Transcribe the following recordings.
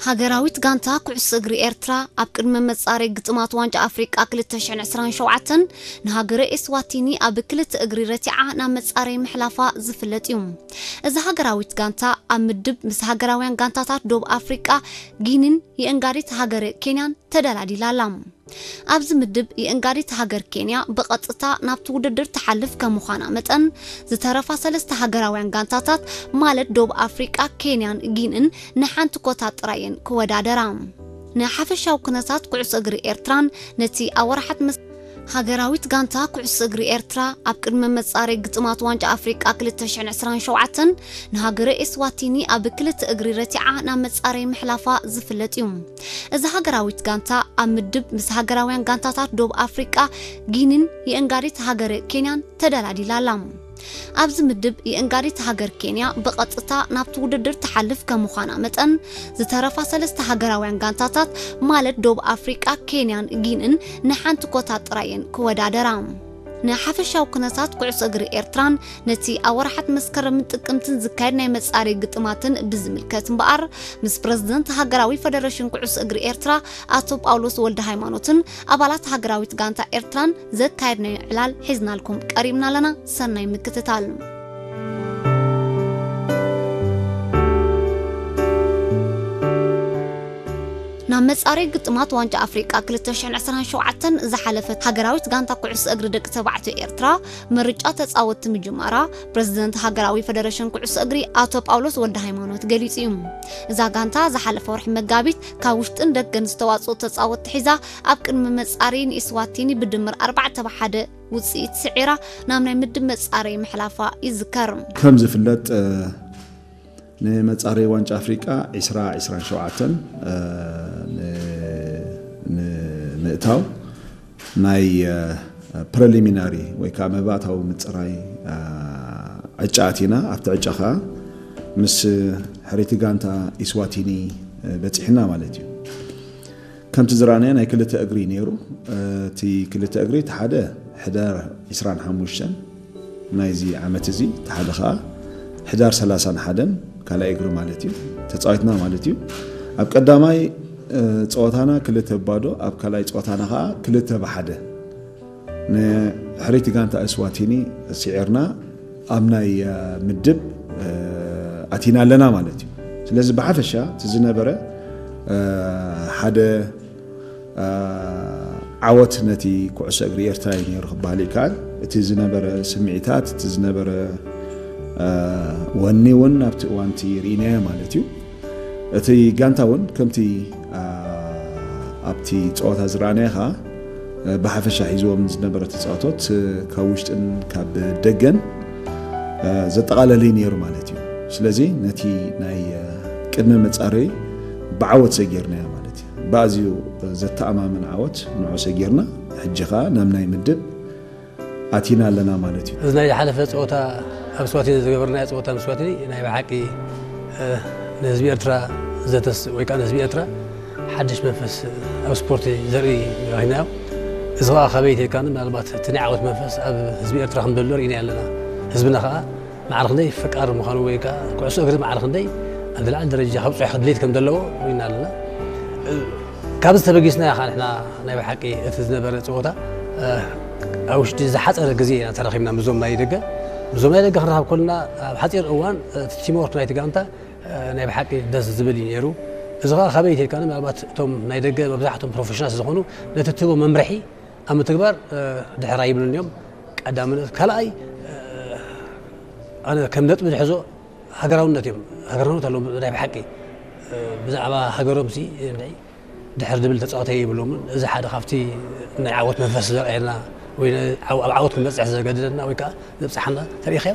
ሃገራዊት ጋንታ ኩዕሶ እግሪ ኤርትራ ኣብ ቅድመ መጻረይ ግጥማት ዋንጫ ኣፍሪቃ ክልተ ሽሕን ዕስራን ሸውዓተን ንሃገረ ኤስዋቲኒ ኣብ ክልተ እግሪ ረቲዓ ናብ መጻረይ ምሕላፋ ዝፍለጥ እዩ። እዛ ሃገራዊት ጋንታ ኣብ ምድብ ምስ ሃገራውያን ጋንታታት ዶብ ኣፍሪቃ፣ ጊኒን የእንጋዲት ሃገረ ኬንያን ተደላዲላ ኣላ። ኣብዚ ምድብ የእንጋዲት ሃገር ኬንያ ብቐጥታ ናብቲ ውድድር ትሓልፍ ከም ምዃና መጠን፣ ዝተረፋ ሰለስተ ሃገራውያን ጋንታታት ማለት ዶብ ኣፍሪቃ፣ ኬንያን ጊንን ንሓንቲ ኮታ ጥራየን ክወዳደራ። ንሓፈሻዊ ኩነታት ኩዕሶ እግሪ ኤርትራን ነቲ ኣብ ወርሓት መስ-፣ ሃገራዊት ጋንታ ኩዕሶ እግሪ ኤርትራ ኣብ ቅድመ መጻረይ ግጥማት ዋንጫ ኣፍሪቃ ክልተ ሽሕን ዕስራን ሸውዓተን ንሃገረ ኤስዋቲኒ ኣብ ክልተ እግሪ ረቲዓ ናብ መጻረይ ምሕላፋ ዝፍለጥ እዩ። እዛ ሃገራዊት ጋንታ ኣብ ምድብ ምስ ሃገራውያን ጋንታታት ዶብ ኣፍሪቃ፣ ጊኒን የእንጋዲት ሃገረ ኬንያን ተደላዲላ ኣላ። ኣብዚ ምድብ የእንጋዲት ሃገር ኬንያ ብቐጥታ ናብቲ ውድድር ትሓልፍ ከም ምዃና መጠን፣ ዝተረፋ ሰለስተ ሃገራውያን ጋንታታት ማለት ዶብ ኣፍሪቃ፣ ኬንያን ጊንን ንሓንቲ ኮታ ጥራየን ክወዳደራ። ንሓፈሻዊ ኩነታት ኩዕሶ እግሪ ኤርትራን ነቲ ኣብ ወርሓት መስከረምን ጥቅምትን ዝካየድ ናይ መጻረይ ግጥማትን ብዝምልከት እምበኣር፣ ምስ ፕረዚደንት ሃገራዊ ፈደረሽን ኩዕሶ እግሪ ኤርትራ ኣቶ ጳውሎስ ወልደ ሃይማኖትን ኣባላት ሃገራዊት ጋንታ ኤርትራን ዘካየድናዮ ዕላል ሒዝናልኩም ቀሪብና ኣለና። ሰናይ ምክትታል። ናብ መጻረይ ግጥማት ዋንጫ ኣፍሪቃ ክልተ ሽሕን ዕስራን ሸውዓተን ዝሓለፈት ሃገራዊት ጋንታ ኩዕሶ እግሪ ደቂ ተባዕትዮ ኤርትራ ምርጫ ተጻወትቲ ምጅማራ ፕረዚደንት ሃገራዊ ፈደረሽን ኩዕሶ እግሪ ኣቶ ጳውሎስ ወልደ ሃይማኖት ገሊጹ እዩ። እዛ ጋንታ ዝሓለፈ ወርሒ መጋቢት ካብ ውሽጥን ደገን ዝተዋጽኡ ተጻወትቲ ሒዛ ኣብ ቅድሚ መጻረይ ንኢስዋቲኒ ብድምር ኣርባዕተ ብ ሓደ ውጽኢት ስዒራ ናብ ናይ ምድብ መጻረይ ምሕላፋ ይዝከር። ከም ዝፍለጥ፣ እ፣ ንመጻረይ ዋንጫ ኣፍሪቃ ዕስራ ዕስራን ሸውዓተን፣ እ፣ ን-፣ ንምእታው ናይ፣ እ፣ ፕሪሊሚናሪ ወይ ከዓ መባእታዊ ምጽራይ፣ እ፣ ዕጫ ኣቲና። ኣብቲ ዕጫ ከዓ ምስ ሕርይቲ ጋንታ ኢስዋቲኒ፣ እ፣ በጺሕና ማለት እዩ። ከምቲ ዝረኣናዮ ናይ ክልተ እግሪ ነይሩ። እቲ ክልተ እግሪ፣ እቲ ሓደ ሕዳር ዕስራን ሓሙሽተን ናይዚ ዓመት እዚ፣ እቲ ሓደ ኸኣ ሕዳር ሰላሳን ሓደን ካልኣይ እግሪ ማለት እዩ፣ ተጻዊትና ማለት እዩ። ኣብ ቀዳማይ፣ እ፣ ጸወታና ክልተ ባዶ፣ ኣብ ካልኣይ ጸወታና ኸኣ ክልተ ብሓደ ንሕርይቲ ጋንታ እስዋቲኒ ስዒርና ኣብ ናይ፣ እ፣ ምድብ፣ እ፣ ኣቲና ኣለና ማለት እዩ። ስለዚ ብሓፈሻ እቲ ዝነበረ፣ እ፣ ሓደ፣ እ፣ ዓወት ነቲ ኩዕሶ እግሪ ኤርትራ እዩ ነይሩ ክበሃል ይከኣል። እቲ ዝነበረ ስምዒታት፣ እቲ ዝነበረ፣ እ፣ ወኒ እውን ኣብቲ እዋን እቲ ርኢናዮ ማለት እዩ። እቲ ጋንታ እውን ከምቲ፣ እ፣ ኣብቲ ጸወታ ዝረኣናዮ ኸኣ፣ እ፣ ብሓፈሻ ሒዝዎም ዝነበረ ተጻወቶት፣ እ፣ ካብ ውሽጥን ካብ ደገን፣ እ፣ ዘጠቓለለ እዩ ነይሩ ማለት እዩ። ስለዚ ነቲ ናይ፣ እ፣ ቅድመ መጻረይ ብዓወት ሰጊርናዮ ማለት እዩ። ብኣዝዩ ዘተኣማምን ዓወት ንዑ ሰጊርና፣ ሕጂ ኸኣ ናብ ናይ ምድብ ኣቲና ኣለና ማለት እዩ። እዚ ናይ ዝሓለፈ ጸወታ ኣብ ስዋቲኒ ዝገበርናዮ ጸወታ ምስ ስዋቲኒ ናይ ብሓቂ፣ እ፣ ንህዝቢ ኤርትራ ዘተስ-፣ ወይ ከኣ ንህዝቢ ኤርትራ ሓድሽ መንፈስ ኣብ ስፖርቲ ዘርኢ ረኺብናዮ። እዚ ኸኣ ካበይ ተይካኒ ምናልባት እቲ ናይ ዓወት መንፈስ ኣብ ህዝቢ ኤርትራ ከም ዘሎ ርኢና ኣለና። ህዝብና ኸኣ ማዕረ ክንደይ ፈቃሪ ምዃኑ ወይ ከኣ ኩዕሶ እግሪ ማዕረ ክንደይ ኣብ ዝለዓለ ደረጃ ከብጽሖ ድሌት ከም ዘለዎ ርኢና ኣለና። እ፣ ካብዚ ተበጊስና ኢኻ ንሕና ናይ ብሓቂ እቲ ዝነበረ ጸወታ፣ እ፣ ኣብ ውሽጢ ዝሓጸረ ግዜ ኢና ተራኺብና ምስዞም ናይ ደገ። ምስዞም ናይ ደገ ክንራኸብ ከለና ኣብ ሓጺር እዋን፣ እ፣ እቲ ቲምወርክ ናይቲ ጋንታ፣ እ፣ ናይ ብሓቂ ደስ ዝብል እዩ ነይሩ። እዚ ኸኣ ካበይ ተልካኒ ምናልባት እቶም ናይ ደገ መብዛሕትኦም ፕሮፌሽናል ዝኾኑ ነቲ ትህቦ መምርሒ ኣብ ምትግባር፣ እ፣ ድሕር ኣይብሉን እዮም። ቀዳምነት፣ ካልኣይ፣ እ፣ ኣነ ከም ነጥቢ ዝሕዞ ሃገራውነት እዮም። ሃገራውነት ኣለዎም ናይ ብሓቂ፣ እ፣ ብዛዕባ ሃገሮም ሲ፣ እንድዒ ድሕር ዝብል ተጻዋታይ የብሎምን። እዚ ሓደ ካብቲ ናይ ዓወት መንፈስ ዘርእየና ወይ ነ-፣ ዓው-፣ ኣብ ዓወት ክንበጽሕ ዘገድደና ወይ ከኣ ዘብጽሓና ተሪእኻዮ።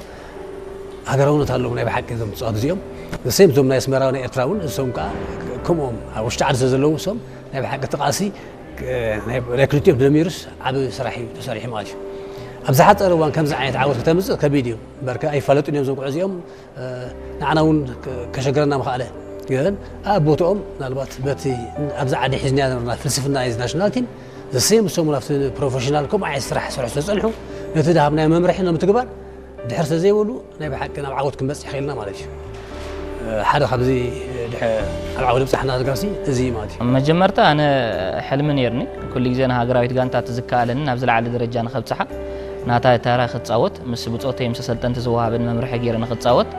ሃገራውነት ኣለዎም ናይ ብሓቂ እዞም ተጻወትቲ እዚኦም። ንሰም እዞም ናይ ኣስመራ ናይ ኤርትራ እውን እሶም ከኣ ከምኦም ኣብ ውሽጢ ዓዲ ስለ ዘለዉ እሶም ናይ ብሓቂ እቲ ቃልሲ፣ እ፣ ናይ፣ ናይ ክልቲኦም ተደሚሩስ ዓቢ ስራሕ እዩ ተሰሪሑ ማለት እዩ። ኣብ ዝሓጸረ እዋን ከምዚ ዓይነት ዓወት ከተምጽእ ከቢድ እዩ። እምበርከ ኣይፋለጡን እዮም እዞም ጉዕዞ እዚኦም። እ፣ ንዓና እውን ከ-፣ ከሸግረና ምኽኣለ። ግን ኣብ ቦትኦም ምናልባት በቲ ኣብዚ ዓዲ ሒዝና ዝነበርና ፍልስፍና ናይዚ ናሽናል ቲም ዘሰም እሶም እውን ኣብቲ ፕሮፌሽናል ከምኡ ዓይነት ስራሕ ይሰርሑ ስለ ዝጸንሑ ነቲ ዝሃብናዮ መምርሒ ንምትግባር ድሕር ስለ ዘይበሉ ናይ ብሓቂ ናብ ዓወት ክንበጽሕ ኽኢልና ማለት እዩ። እ፣ ሓደ ካብዚ ድሐ ኣብ ዓውዲ ብጻሕና ዝጋሲ እዚ እዩ ማለት እዩ። መጀመርታ ኣነ ሕልሚ ነይርኒ፣ ኩሉ ግዜ ንሃገራዊት ጋንታ እቲ ዝከኣለኒ ናብ ዝለዓለ ደረጃ ንኸብጽሓ፣ ናታ ታራ ክጻወት፣ ምስ ብጾተይ ምስ ኣሰልጠንቲ ዝወሃበን መምርሒ ገይረ ንኽጻወት፣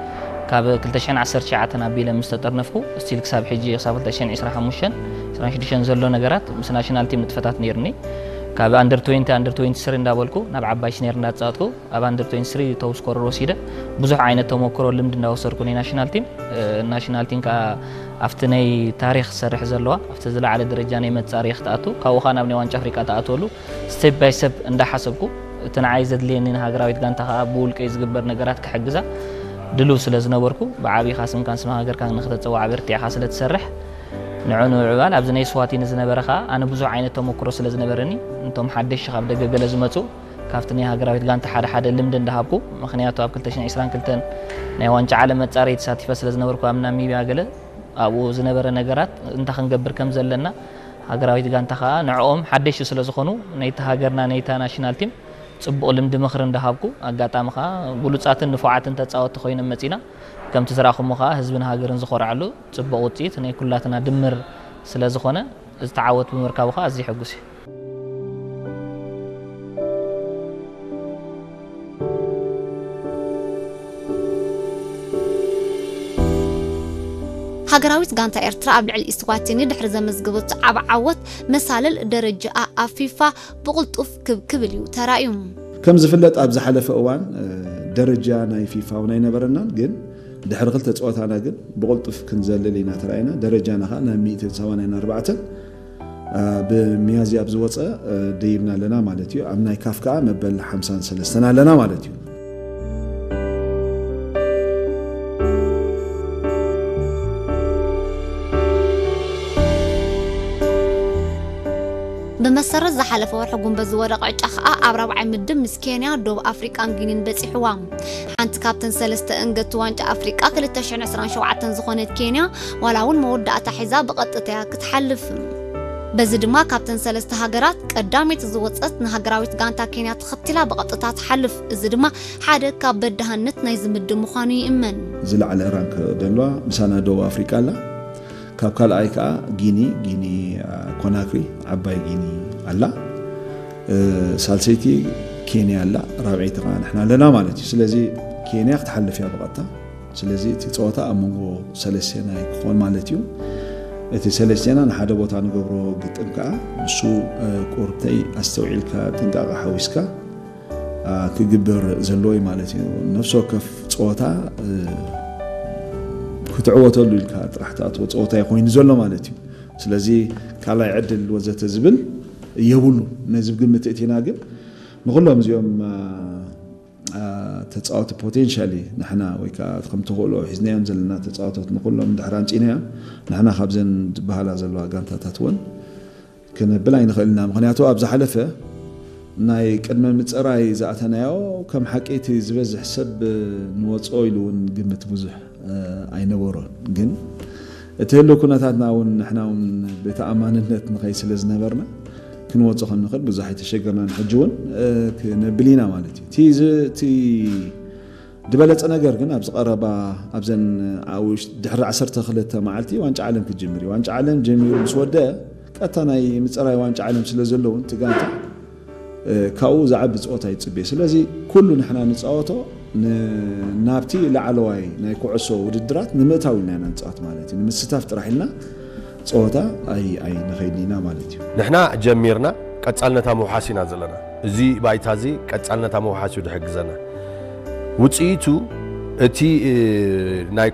ካብ ክልተ ሽሕን ዓሰርተ ትሽዓተን ኣቢለ ምስ ተጠርነፍኩ፣ ስቲል ክሳብ ሕጂ፣ ክሳብ ክልተ ሽሕን ዕስራን ሓሙሽተን፣ ዕስራን ሽዱሽተን ዘሎ ነገራት ምስ ናሽናል ቲም ንጥፈታት ነይርኒ። ካብ ኣንደር ትዌንቲ፣ ኣንደር ትዌንቲ ስሪ እንዳበልኩ ናብ ዓባይ ሲኒየር እንዳተጻወትኩ፣ ኣብ ኣንደር ትዌንቲ ስሪ ቶፕ ስኮረር ወሲደ፣ ብዙሕ ዓይነት ተሞክሮ ልምዲ እንዳወሰድኩ ናይ ናሽናል ቲም፣ እ፣ ናሽናል ቲም ከኣ ኣብቲ ናይ ታሪኽ ዝሰርሕ ዘለዋ፣ ኣብቲ ዝለዓለ ደረጃ ናይ መጻረዪ ክትኣቱ፣ ካብኡ ከኣ ናብ ናይ ዋንጫ ኣፍሪቃ ትኣትወሉ፣ ስቴፕ ባይ ስቴፕ እንዳሓሰብኩ፣ እቲ ንዓይ ዘድልየኒ ንሃገራዊት ጋንታ ከኣ ብውልቀይ ዝግበር ነገራት ክሕግዛ ድሉው ስለ ዝነበርኩ፣ ብዓቢኻ ስምካን ስም ሃገርካን ንኽተጸዋዕ በርቲዕኻ ስለ ትሰርሕ፣ ንዑ ንምዕባል ኣብዚ ናይ ስዋቲኒ ዝነበረ ከኣ ኣነ ብዙሕ ዓይነት ተሞክሮ ስለ ዝነበረኒ፣ እንቶም ሓደሽቲ ካብ ደገ ገለ ዝመጹ፣ ካብቲ ናይ ሃገራዊት ጋንታ ሓደ ሓደ ልምዲ እንዳሃብኩ፣ ምኽንያቱ ኣብ ክልተ ሽሕን ዕስራን ክልተን ናይ ዋንጫ ዓለም መጻረዪ ተሳቲፈ ስለ ዝነበርኩ ኣብ ናሚብያ ገለ ኣብኡ ዝነበረ ነገራት እንታይ ክንገብር ከም ዘለና፣ ሃገራዊት ጋንታ ከኣ ንዕኦም ሓደሽቲ ስለ ዝኾኑ፣ ነይቲ ሃገርና፣ ነይታ ናሽናል ቲም ጽቡቕ ልምዲ ምኽሪ እንዳሃብኩ፣ ኣጋጣሚ ከኣ ብሉጻትን ንፉዓትን ተጻወትቲ ኮይኖም መጺና፣ ከምቲ ዝረኣኹሞ ከኣ ህዝብን ሃገርን ዝኾርዓሉ ጽቡቕ ውጽኢት ናይ ኩላትና ድምር ስለ ዝኾነ፣ እዚ ተዓወት ብምርካቡ ከኣ ኣዝየ ሕጉስ እየ። ሃገራዊት ጋንታ ኤርትራ ኣብ ልዕሊ ኢስዋቲኒ ድሕሪ ዘመዝገበቶ ዓቢ ዓወት፣ መሳልል ደረጃኣ ኣብ ፊፋ ብቕልጡፍ ክብ ክብል እዩ ተራእዩ። ከም ዝፍለጥ ኣብ ዝሓለፈ እዋን፣ እ፣ ደረጃ ናይ ፊፋ እውን ኣይነበረናን፣ ግን ድሕሪ ክልተ ጸወታና ግን ብቕልጡፍ ክንዘልል ኢና ተራእና። ደረጃና ከኣ ናብ ሚእትን ሰማንያን ኣርባዕተን፣ እ፣ ብሚያዝያ ኣብ ዝወጸ፣ እ፣ ደይብና ኣለና ማለት እዩ። ኣብ ናይ ካፍ ከኣ መበል ሓምሳን ሰለስተን ኣለና ማለት እዩ። ብመሰረት ዝሓለፈ ወርሒ ጉንበት ዝወደቐ ዕጫ ከኣ ኣብ ራብዓይ ምድብ ምስ ኬንያ፣ ደቡብ ኣፍሪቃን ጊኒን በጺሕዋ። ሓንቲ ካብተን ሰለስተ እንገቲ ዋንጫ ኣፍሪቃ ክልተ ሽሕን ዕስራን ሸውዓተን ዝኾነት ኬንያ፣ ዋላ እውን መወዳእታ ሒዛ ብቐጥታ እያ ክትሓልፍ። በዚ ድማ ካብተን ሰለስተ ሃገራት ቀዳመይቲ ዝወጸት ንሃገራዊት ጋንታ ኬንያ ተኸቲላ ብቐጥታ ትሓልፍ። እዚ ድማ ሓደ ካብ በዳህነት ናይዚ ምድብ ምዃኑ ይእመን። ዝለዓለ ራንክ ደለዋ ምሳና ደቡብ ኣፍሪቃ ኣላ። ካብ ካልኣይ ከኣ ጊኒ፣ ጊኒ፣ አ፣ ኮናክሪ፣ ዓባይ ጊኒ ኣላ። እ፣ ሳልሰይቲ ኬንያ ኣላ፣ ራብዐይቲ ከኣ ንሕና ኣለና ማለት እዩ። ስለዚ ኬንያ ክትሓልፍ እያ ብቐጥታ። ስለዚ እቲ ጸወታ ኣብ መንጎ ሰለስቴና እዩ ክኾን ማለት እዩ። እቲ ሰለስቴና ንሓደ ቦታ ንገብሮ ግጥም ከኣ ንሱ፣ እ፣ ቁርብተይ ኣስተውዒልካ ጥንቃቐ ሓዊስካ፣ አ፣ ክግበር ዘለዎ እዩ ማለት እዩ። ነፍሲ ወከፍ ጸወታ፣ እ፣ ክትዕወተሉ ኢልካ ጥራሕ ትኣትዎ ጸወታ እዩ ኮይኑ ዘሎ ማለት እዩ። ስለዚ ካልኣይ ዕድል ወዘተ ዝብል የብሉ። ነዚ ብግምት እቲና ግን ንኹሎም እዚኦም፣ አ፣ አ፣ ተጻወቲ ፖቴንሻሊ ንሕና ወይ ከኣ ከም ተኽእሎ ሒዝናዮም ዘለና ተጻወቶት ንኹሎም ድሕር ኣምጺእናዮም፣ ንሕና ካብዘን ዝበሃላ ዘለዋ ጋንታታት እውን ክነብል ኣይንኽእልና። ምኽንያቱ ኣብ ዝሓለፈ ናይ ቅድመ ምጽራይ ዝኣተናዮ ከም ሓቂ እቲ ዝበዝሕ ሰብ ንወጽኦ ኢሉ እውን ግምት ብዙሕ፣ እ፣ ኣይነበሮን። ግን እቲ ህልው ኩነታትና እውን ንሕና እውን ብተኣማንነት ንኸይድ ስለ ዝነበርና ክንወጽኦ ከም ንኽእል ብዙሕ ኣይተሸገርናን። ሕጂ እውን፣ እ፣ ክነብል ኢና ማለት እዩ። እቲ ዝ-፣ እቲ ዝበለጸ ነገር ግን ኣብዚ ቀረባ ኣብዘን ኣብ ውሽ-፣ ድሕሪ ዓሰርተ ክልተ መዓልቲ ዋንጫ ዓለም ክጅምር እዩ። ዋንጫ ዓለም ጀሚሩ ምስ ወደአ ቀጥታ ናይ ምጽራይ ዋንጫ ዓለም ስለ ዘለውን እቲ ጋንታ፣ እ፣ ካብኡ ዝዓቢ ጸወታ ይጽበ። ስለዚ ኩሉ ንሕና ንጻወቶ ን-፣ ናብቲ ላዕለዋይ ናይ ኩዕሶ ውድድራት ንምእታው ኢልና ኢና ንጻወት ማለት እዩ። ንምስታፍ ጥራሕ ኢልና ጸወታ ኣይ-፣ ኣይንኸይድን ኢና ማለት እዩ። ንሕና ጀሚርና ቀጻልነት ኣብ ምውሓስ ኢና ዘለና። እዚ ባይታ እዚ ቀጻልነት ኣብ ምውሓስ እዩ ድሕግዘና። ውጽኢቱ እቲ፣ እ፣ ናይ